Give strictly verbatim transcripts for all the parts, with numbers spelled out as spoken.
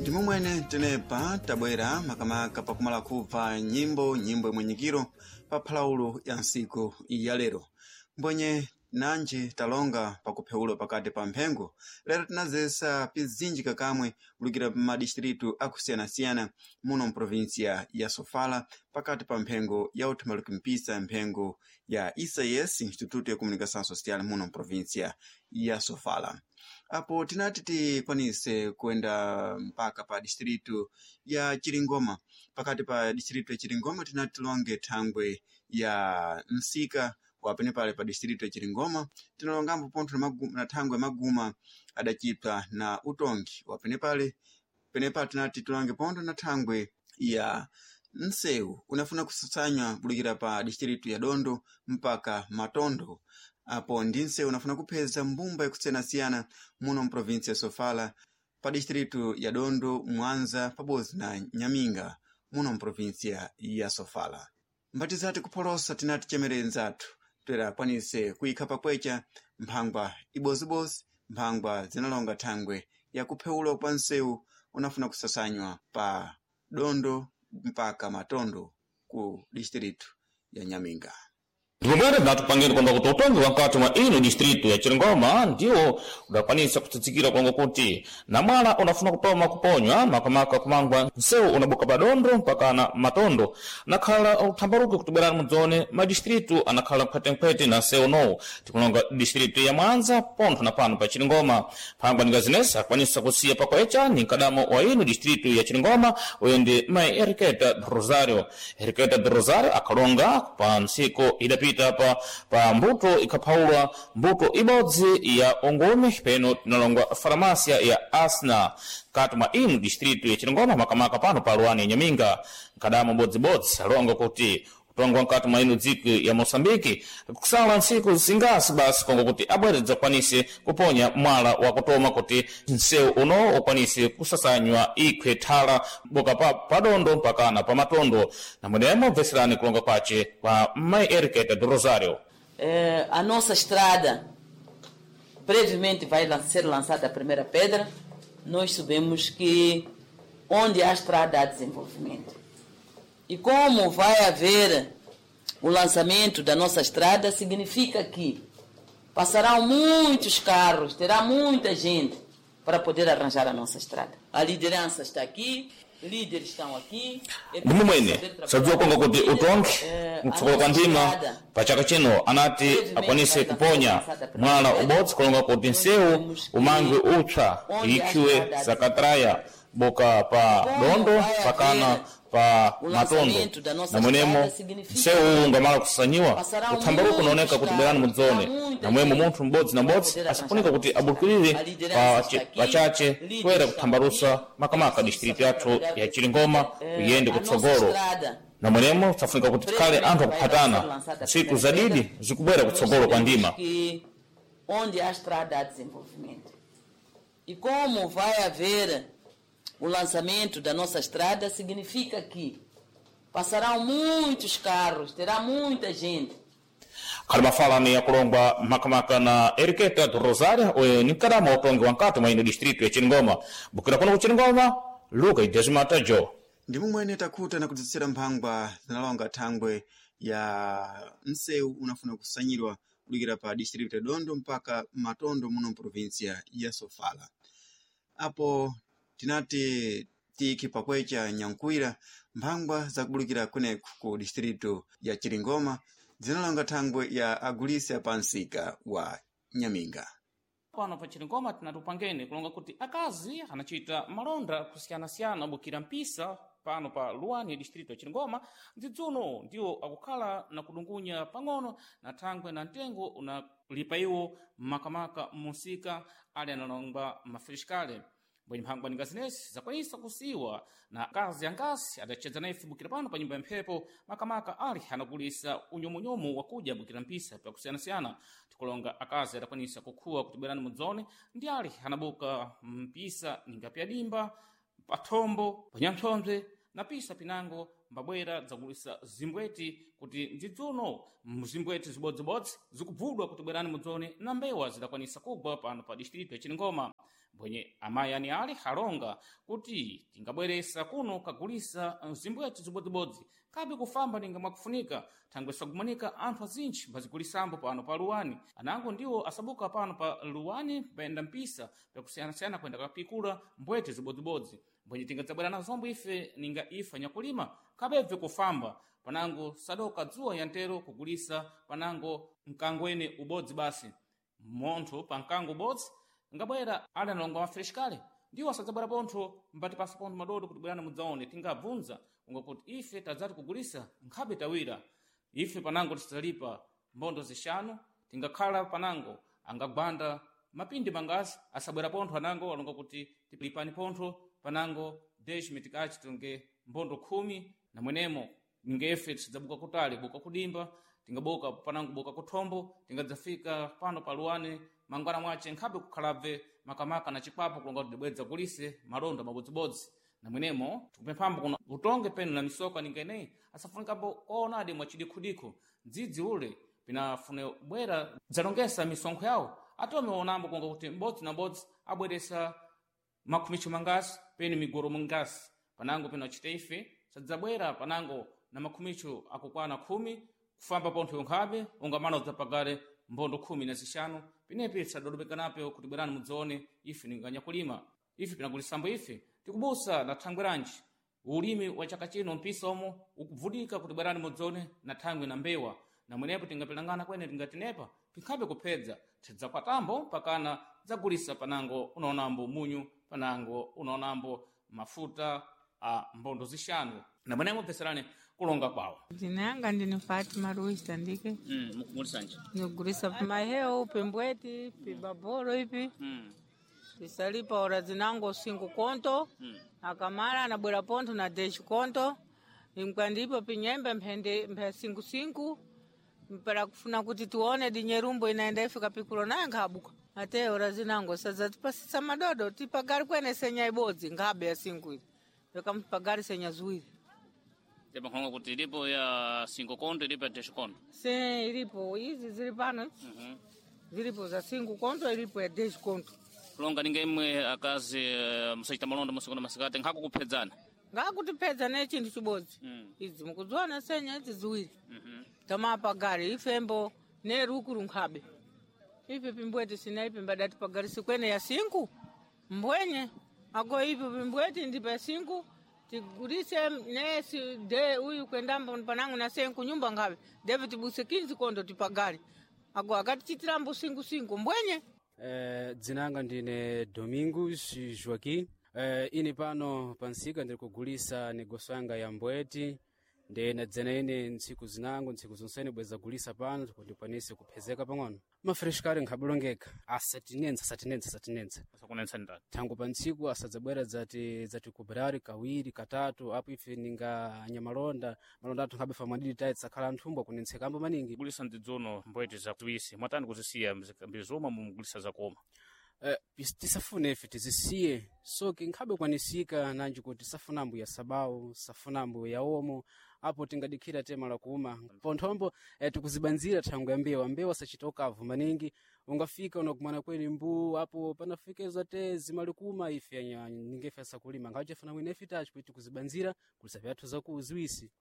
Ndimomwene tenepa tabwera makamaka pakumala kupva nyimbo nyimbo imwenyikiro pa phalaulo ya ntsiku ya lero mbwenye nanji talonga pakuphewulo pakati pa mphengo lero tinazesa pizinji kakamwe kulukira madistritu akusiyanasiyana muno mprovinsia ya Sofala pakati pa mphengo ya uthumaluki mpisa mphengo ya I C S, Instituto ya Comunicação Social, muno mprovinsia ya Sofala. Apo tinati tikwanise kuenda mpaka pa distritu ya Chiringoma. Pakati pa distritu ya Chiringoma tinati tilonge thangwe ya msika wapenepale pa distritu ya Chiringoma. Tinalongambo pontho na magu- na thangwe maguma adacipwa na utongi wapenepale. Penepale tinati tilonge pontho na thangwe ya msewu unafuna kusatsanywa kulukira pa distritu ya Dondo mpaka Matondo. Apo ndi nsewu unafuna kupheza mbumba yakusiyanasiyana muno mprovinsi ya Sofala, pa distritu ya Dondo, Mwanza pabodzi na Nyaminga muno mprovinsia ya Sofala. Mbatizati kupholosa tinati chemerere nzathu toera akwanise kuyikha pakwecha mphangwa ibozibozi, mphangwa zinalonga thangwe yakuphewula kwa nsewu unafuna kusasanywa pa Dondo mpaka Matondo ku distritu ya Nyaminga. Ndipomwene tinatupangeni kwamba kuti utongi wa nkati mwa ino distritu ya Chiringoma ndiwo udakwanisa kutsitsikira kwango kuti namwala unafuna kupoma kuponywa makamaka kumangwa nsewu unabuka padondo mpaka na Matondo nakhala uthambaruke kutibwerani mudzone madistritu anakhala mkhwetenkhwete na nsewu unowu. Tikulonga distritu ya Mwanza pontho na pano pa Chiringoma. Phangwa ningazinesa akwanisa kusiya pakwecha ni mkadamo wa ino distritu ya Chiringoma, uyo ndi mai Eriketa Rosario. Eriketa Rosario akhalonga pa ntsiku idapita pa, pa mbuto ikaphaulwa mbuto ibodzi ya ongome peno tinalongwa faramasia ya Asna kati mwa ino distritu ya Chiringoma, makamaka pano pa luwani ya Nyaminga. Mkadamo bodzibodzi alonga kuti utongo nkati mwa ino dziko ya Moçambike kusala ntsiku zingasi basi kongo kuti abwere dzakwanise kuponya mwala wakutoma kuti nsewu uno ukwanise kusasanywa ikhwe thala boka pa padondo mpakana pa Matondo. Namwenemo bveserani kulonga kwace kwa mai Eriketa do Rosario. Eh, a nossa estrada brevemente vai lan- ser lançada a primeira pedra. Nós sabemos que onde há estrada há desenvolvimento. E como vai haver o lançamento da nossa estrada, significa que passarão muitos carros, terá muita gente para poder arranjar a nossa estrada. A liderança está aqui, líderes estão aqui. É preciso Ndimumwene saber trabalhar sadziwa konga kuti com líderes. utongi Eh, a mtsogolo kwa nossa ndima estrada pa chaka chino anati akwanise kuponya mwala ubodzi kulonga kuti nsewu umangwe upsa ikhiwe sakatraya boka pa Dondo pakana pa Matondo. Namwenemo nsewu ungamala kusasanyiwa uthambaruko unaoneka kuti bwerani mudzone namwemo munthu m'bodzi na m'bodzi asifunika kuti abukirire pa- pachache kuyera kuthambarusa makamaka distritu yathu ya Chiringoma kuyende a nossa kutsogolo. estrada Namwenemo tafunika kuti tikhale anthu akuphatana ntsiku zadidi zikubwera kutsogolo kwa ndima. Que onde há estrada há desenvolvimento. E como vai haver o lançamento da nossa estrada, significa que passarão muitos carros, terá muita gente. Khali mafala ni akulongwa makamaka na Eriketa do Rosario, oyo ni mkadama wa utongi wa nkati mwa ino distritu ya Chiringoma. Bukira kuno ku Chiringoma, Luka Idesmata Jo. Ndimumwene takhuta na kudzetsera mphangwa zinalonga thangwe ya msewu unafuna kusanyidwa kulukira pa distritu ya Dondo mpaka Matondo muno mprovinsia ya Sofala. Apo tinati tiki pakwecha nyankwira mphangwa zakubulukira kuneku ku distritu ya Chiringoma zinalonga thangwe ya agulisa pa msika wa Nyaminga. Pano pa Chiringoma tinatupangeni kulonga kuti akazi anachita malonda kusiyanasiyana bukira mpisa pano pa luwani distrito ya Chiringoma ndidzuno ndiwo akukhala na kudungunya pang'ono na thangwe na mtengo unalipa iwo makamaka musika ali analongwa mafrishkale. Bwenye mphangwa ningazinesi zakwanisa kusiwa na akazi angasi adachedza naye bukira pano pa nyumba ya mphepo, makamaka ali anagulisa unyomunyomu wakuja bukira mpisa pakusiyanasiyana. Tikulonga akazi adakwanisa kukhuwa kuti bwerani mudzone ndi ali anabuka mpisa ninga pyadimba pathombo panyamphyombwe na pisa pinango mbabwera dzagulisa zimbweti kuti ndidzuno mzimbweti zibodzibodzi zikubvudwa kuti bwerani mudzone na mbewa zidakwanisa kugwa pano pa distrito ya Chiringoma. Mbwenye amayi ani ali alonga kuti tingabweresa kuno kagulisa zimbwete zibodzibodzi kabe kufamba ninga mwakufunika thangwe sagumanika anthu azintchi mbazigulisambo pano pa Luwani. Anango ndiwo asabuka pano pa Luwani payenda mpisa pyakusiyanasiyana kuyenda kapikula mbwete zibodzibodzi. Mbwenye tingadzabwera nazombo ife ninga ife anyakulima kabebve kufamba panango sadoka dzuwa yantero kugulisa panango mkangwene ubodzi basi munthu pa mkango ubodzi ngabwera ali analonga mafresh kale ndiwo asadzabwera pontho mbati pasa pontho madodo kuti bwerani mudzaone. Tingabvunza unga kuti ife tadzati kugulisa nkhabe tawira ife panango tisadzalipa mbondo zixanu tingakhala panango angagwanda mapindi mangasi asabwera pontho anango alonga kuti tilipani pontho panango dez mitikachi tonge mbondo khumi namwenemo ningefe tisadzabuka kutali buka kudimba tingabuka panango buka kuthombo tingadzafika pano pa Luwani mangwana mwace nkhabe kukhalabve makamaka na chikwapo kulonga kuti dibwedza kulise malonda mabodzibodzi. Namwenemo tikupemphambo kuno utonge penu na misoka ninga ineyi asafunikapo koonadi mwachidikhudikhu dzidzi ule pinafune bwera dzalongesa misonkho yawo atome onambo kunga kuti m'bodzi na m'bodzi abweresa makhumicho mangasi penu migoro mingasi panango peno achite ife sadzabwera panango na makhumicho akukwana khumi kufamba pontho yonkhabe ungamana udzapagale mbondo khumi na zixanu pinepi tisadodobekanapo kuti bwerani mudzaone ife ninganyakulima ife pinagulisambo ife tikubusa na thangwe lanji ulimi wa chaka chino mpisa omo ukubvudika kuti bwerani mudzaone na thangwe na mbewa namwenepo tingapilangana kwene tingatinepa pinkhabe kuphedza tidzapatambo pakana dzagulisa panango unaonambo munyu panango unaonambo mafuta a mbondo zixanu. Namwenemo bveserani kulonga kwawo. Jina yanga ndini Fatima Ruiz Tandike. Mm, mukugulisanji Nigulisa maheo pimbweti pibabolo ipi mm. tisalipa ora zinango cinco conto Mm. akamala anabwera pontho na dez conto imkwandipo pinyembe mphende mphe cinco cinco mpera kufuna kuti tione dinyerumbo inaenda ifika pikulo naye nkhabuka ate ora zinango sazatipasisa madodo tipagari kwene senya ibodzi nkhabe ya cinco ili vekampagari senya ziwiri. Tepankhonga kuti ilipo ya cinco conto ilipo ya dez conto. Se ilipo izi zili pano izi. Mm -hmm. Zilipo za cinco conto ilipo ya dez conto. Kulonga ninga imwe akazi eh, musachita malonda musiku na masikati nkhako kuphedzana. Ngakutipedza ne chinthu chibodzi. Mm. Idzi mukudziona senya idzi ziwiri. Mm -hmm. Tamapagari ifembo ne rukuru nkhabe ipi pimbweti sina ipi mbadati pagari sikwene ya sinku mbwenye ago ipi pimbweti ndipa ya sinku tigulise ne si de uyu kwendambo panangu na senku nyumba nkhabe devi tibuse kinzi kondo tipagari ago akatichitirambo sinku sinku mbwenye. Eh, dzinanga ndine Domingos Joaquim. Eh, ine pano pansika ndiri kugulisa negoso yanga ya mbweti nde nadzena ine ntsiku zinango ntsiku zonsene bweza gulisa pano kuti ndikwanise kuphezeka pang'ono. Mafreshkari nkhabulongeka asatinensa asatinensa asatinensa Asakunensa ndani. thango pa ntsiku asadzabwera dzati dzati kubrari kawiri katatu apo ife ninga anyamalonda malonda athu nkhabe famwadidi tayi tsakhala anthumbwa kunentsekambo maningi. Kugulisa ndidzono mbwete za ziwisi mwatani kuzisiya mbizoma mumugulisa zakoma. Eh, pis- tisafune ife tizisiye soke nkhabe kwanisika nanji kuti safunambo ya sabau safunambo ya omo apo tingadikhira tema la kuma ponthombo eh, tikuzibanzira thango ya mbewa mbewa sachita ukavu maningi ungafika unakumana kweni mbu apo panafika izo te zimalikuma ife anya- ningefe asakulima nkhawe mwene ife tachi kuti tikuzibanzira kulisa vyathu zakuziwisi.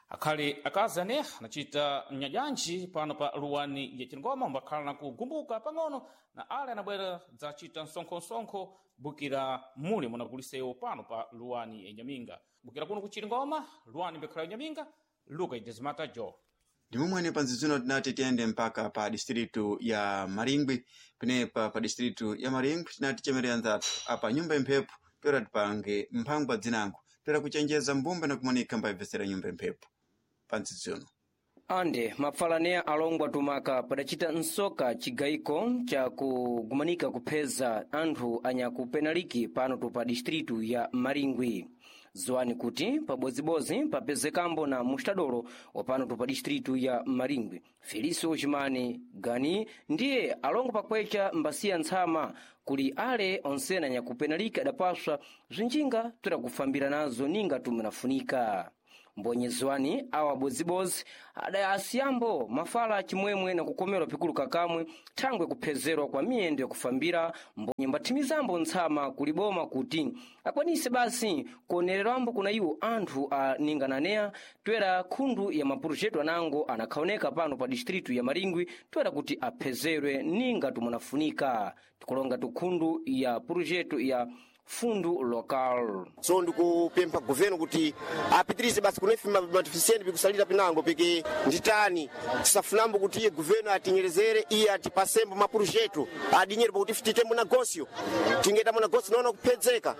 Akhali akazi ane anachita mnyajanji pano pa Luwani ya Chingoma mbakhala na kugumbuka pang'ono na ale anabwera dzachita msonkho-msonkho bukira muli munagulisewo pano pa Luwani ya Nyaminga. Bukira kuno ku Chilingoma, Luwani mbekhala ya Nyaminga, Luka Idezimata Jo. Ndimomwene panzizino tinati tiyende mpaka pa distritu ya Maringwi penepa pa distritu ya Maringwi tinati chemerera nzathu apa nyumba imphepo toera tipange mphangwa dzinango toera kuchenjeza mbumba na kumanika mbayibvesera nyumba imphepo panzizino. Ande mapfalaneya alongwa tumaka padacita nsoka cigayiko ca kugumanika kupheza anthu anyakupenaliki pano tupa distritu ya Maringwi. Ziwani kuti pabodzibozi papezekambo na mustadolo wa pano tupa distritu ya Maringwi Felicio Chimani Gani ndiye alongo pakwecha mbasiya ntsama kuli ale onsena anyakupenaliki adapaswa zinjinga toera kufambira nazo ninga tumwenafunika. Mbonyezwani awa bodzibozi adayasiyambo mafala chimwemwe na kukomerwa pikulu kakamwe thangwe kuphezerwa kwa miyendo yakufambira mbonye mbathimizambo ntsama kuliboma kuti akwanise basi kuonererwambo kuna iwo anthu a ningananeya twera khundu ya mapurujetu anango anakhaoneka pano pa distritu ya Maringwi twera kuti aphezerwe ninga tumunafunika tikulonga tukhundu ya purujetu ya fundu local. So ndikupempha guveno kuti apitirize basi kunefe matifisiyeni pikusalira pinango piki nditani tisafunambo kuti iye guveno atinyerezere iye atipasembo mapurujetu adinyere pakuti titembo nagosio tingetamo nagosio naona kuphedzeka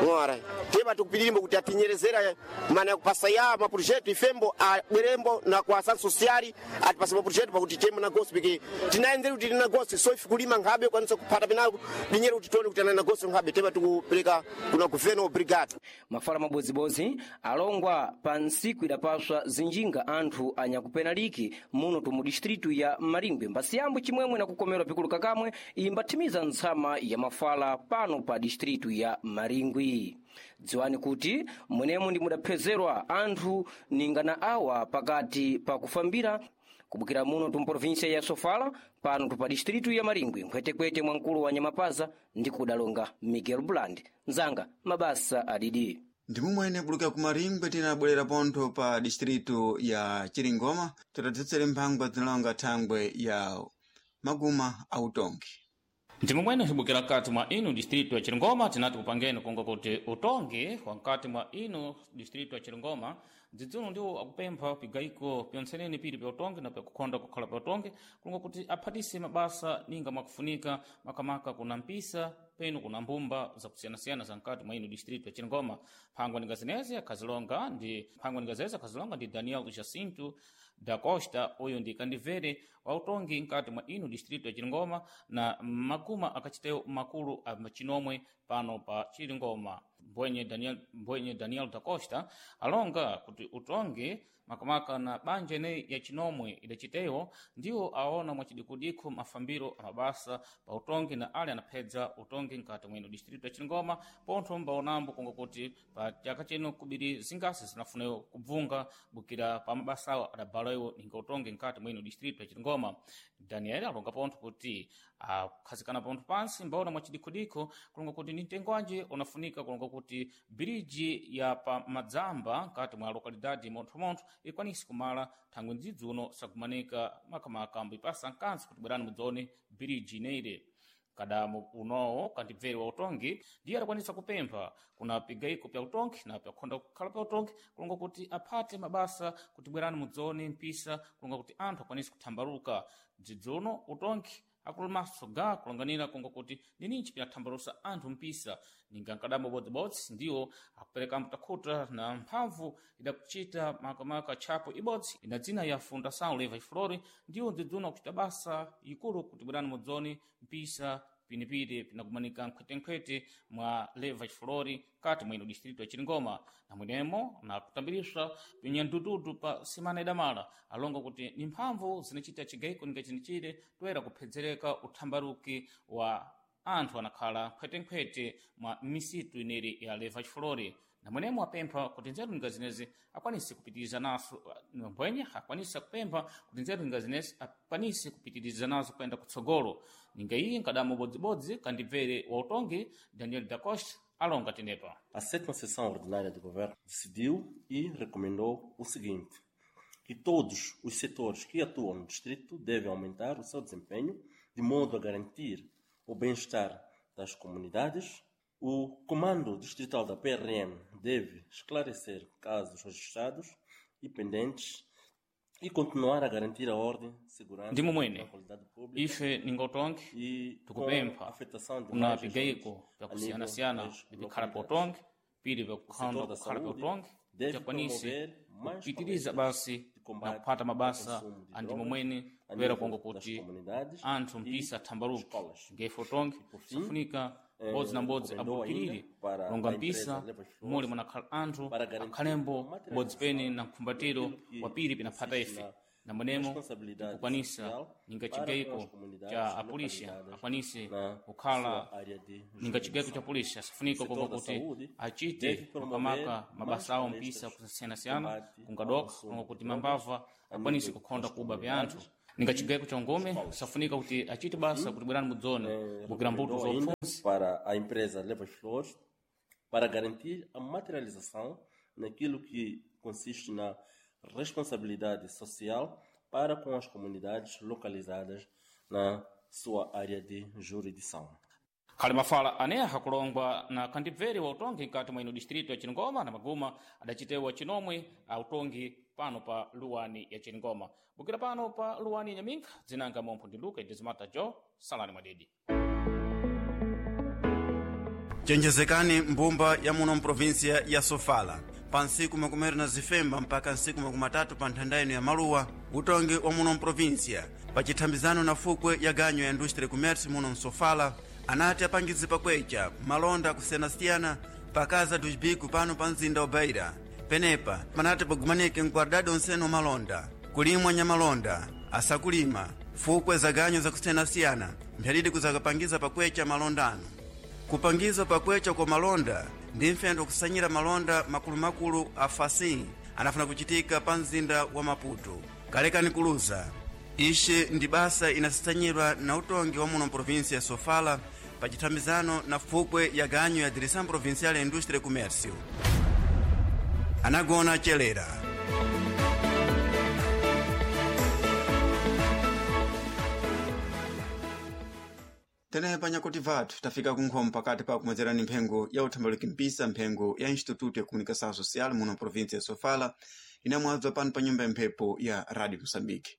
ng'ora tema tikupitirimbo kuti atinyerezera mana yakupasa ya mapurujetu ifembo abwerembo na kwa asan sosiali atipase mapurujetu pakuti tembo nagosio piki tinayenzeri kuti tili nagosio so ife kulima nkhabe kwanisa kuphata pinango dinyere kuti tione kuti ana nagosio nkhabe tema tikupereka kuna guveno obrigado. Mafala mabodzibodzi alongwa pa ntsiku idapaswa zinjinga anthu anyakupenaliki muno tumu distritu ya Maringwe mbasiyambo chimwemwe na kukomerwa pikulu kakamwe imbathimiza ntsama ya mafala pano pa distritu ya Maringwi. Dziwani kuti mwenemo ndi mudaphezerwa anthu ningana awa pakati pa kufambira kubukira muno tumprovinsia ya Sofala pano tupa distritu ya Maringwi nkhwetekwete mwa mkulu wa Nyamapaza ndi kudalonga Miguel Bland nzanga mabasa adidi. Ndimumwene buluka ku Maringwe tinabwerera pontho pa distritu ya Chiringoma titadzetsere mphangwa zinalonga thangwe ya maguma autongi. Ndimumwene hibukira kati mwa inu distritu ya Chiringoma tinati kupangeni kunga kuti utongi wa nkati mwa inu distritu ya Chiringoma dzidzuno ndiwo akupempha pigaiko pyonseneni pili pya utongi na pyakukhonda kukhala pya utongi kulonga kuti aphatise mabasa ninga mwakufunika makamaka kuna mpisa penu kuna mbumba zakusiyanasiyana za nkati mwa inu distritu ya Chiringoma. Mphangwa ninga zinezi akhazilonga ndi mphangwa ninga zezi akhazilonga ndi Daniel Jacinto da Costa uyu ndi kandivere wa utongi nkati mwa inu distritu ya Chiringoma na maguma akachitewo makulu a chinomwe pano pa Chiringoma. Mbwenye Daniel, mbwenye Daniel da Costa alonga kuti utongi makamaka na banja ineyi ya chinomwe idacitewo ndiwo aona mwachidikudikho mafambiro amabasa pa utongi na ali anaphedza utongi nkati mwino distritu ya Chiringoma pontho mbaonambo kunga kuti pa chaka chino kubiri zingasi zinafunewo kubvunga bukira pa mabasa awo adabalawo ninga utongi nkati mwino distritu ya Chiringoma. Daniel alonga pontho kuti akhazikana pontho pansi mbaona mwachidikhudikho kulonga kuti ni mtengo wanje unafunika kulonga kuti biriji ya pa madzamba nkati mwa lokalidade monthomontho ikwanise kumala thangwe mdzidzi uno sakumanika makamaka mbipasa nkansi kuti bwerani mudzone biriji ineire kadamu unowo kandibvere wa utongi ndiye adakwanisa kupempha kuna pigaiko pya utongi na pyakhonda kukhala pya utongi kulonga kuti aphate mabasa kuti bwerani mudzone mpisa kulonga kuti anthu akwanise kuthambaluka dzidzi uno utongi akulumaso ga kulonganira kunga kuti nininji pinathambalusa anthu mpisa ninga nkadambo bodzibodzi ndiwo akupereka mtakhuta na mphamvu idakuchita makamaka tchapo ibodzi ina dzina ya Fundação Leva e Flore ndiwo dzidzuna kuchita basa ikulu kuti bwerani mudzone mpisa pinipiri pinakumanika nkhwetenkhwete mwa Leva e Flore kati mwino distritu ya Chiringoma na mwenemo na kutambiriswa pinyandududu pa simana idamala alonga kuti ni mphamvu zinachita chigaiko ninga chinichire toera kuphedzereka uthambaruki wa anthu anakhala nkhwetenkhwete mwa misitu ineri ya Leva e Flore na mwenemo apempha kuti nzeru ninga zinezi akwanise kupitiriza naso mbwenye akwanise kupempha kuti nzeru ninga zinezi akwanise kupitiriza nazo kuyenda kutsogolo ninga iyi nkadamu bodzibodzi kandibvere wa utongi Daniel da Costa alonga tenepa. A sétima sessão ordinária do governo decidiu e recomendou o seguinte: que todos os setores que atuam no distrito devem aumentar o seu desempenho de modo a garantir o bem-estar das comunidades. O Comando Distrital da P R M deve esclarecer casos registrados e pendentes e continuar a garantir a ordem, segurança Ndimo mwene e qualidade pública ife ninga utongi e com tukupempha a afetação de kuna mais pigaiko regiões a nível pyakusiyanasiyana das bipikhala pa localidades. utongi pili O pyakukhanda setor da kukhala pa saúde utongi deve kuti promover mais kupitiriza palestras basi de na combate kuphata ao mabasa consumo de andimo drogas mwene a kuyera nível konga das kuti comunidades anthu e mpisa athambaluke escolas. ngefe utongi E, por fim, safunika eh, mbodzi na mbodzi recomendou ainda abukirire para longa a mpisa empresa Leva e muli Flores munakhala anthu para garantir akhalembo a mbodzi pene materialização na mkhumbatiro daquilo que wa pili pinaphata consiste ife na Na mwenemo responsabilidade tikukwanisa social ninga para com chigaiko as comunidades cha apolisi localizadas akwanise na kukhala sua área de ninga chigaiko cha jurisdição. polisi asafunika O kuva setor da kuti saúde achite deve promover makamaka mais mabasa awo palestras mpisa kusiyana-siyana combate ao kungadoka consumo kulonga de kuti drogas mambava a akwanise nível kukhonda das kuba pya anthu comunidades ninga e chigaiko cha ngome escolas. safunika kuti achite basa kuti bwerani mudzone Eh, bukira mbuto recomendou za ainda upfunzi para a empresa Levas Flores para garantir a materialização naquilo que consiste na responsabilidade social para com as comunidades localizadas na sua área de jurisdição. Khali mafala aneha kulongwa na khandibveri wa utongi nkati mwa ino distrito ya Chiringoma na maguma adacitewa chinomwe a utongi pano pa luwani ya Chiringoma. Bukira pano pa luwani ya Nyaminga, dzinanga mompho ndi Luka Idizimata Jo, salani mwadidi. Chenjezekani mbumba ya muno mprovinsia ya Sofala pa ntsiku makumi awiri na zifemba mpaka ntsiku makumi atatu pa nthanda ino ya maluwa utongi wa muno mprovinsia pa chithambizano na fukwe ya ganyo ya industria commerce muno msofala anati apangizi pakwecha malonda akusiyanasiyana pakaza dos bico pano pa mzinda wa Beira. Penepa panati pagumanike mkwardadi onsene malonda kulimwa nyamalonda asakulima fukwe za ganyo zakusiyanasiyana mphyalidi kuzakapangiza pakwecha malondano kupangiza pakwecha kwa malonda ndi mfendo kusanyira malonda makulumakulu a fasin anafuna kuchitika pa mzinda wa Maputo. Kalekani kuluza ixi ndi basa inasisanyidwa na utongi wa muno mprovinsia ya Sofala pa chithambizano na fukwe ya ganyo ya Direção Provincial ya Indústria e Comércio. Anagona chelera. Tenepa nyakuti vathu tafika kunkhomo pakati pa kumwedzerani mphengo ya uthambaluki mpisa mphengo ya Instituto ya Comunicação Social muno província ya Sofala inamwabza pano pa nyumba ya mphepo ya Radio Moçambique.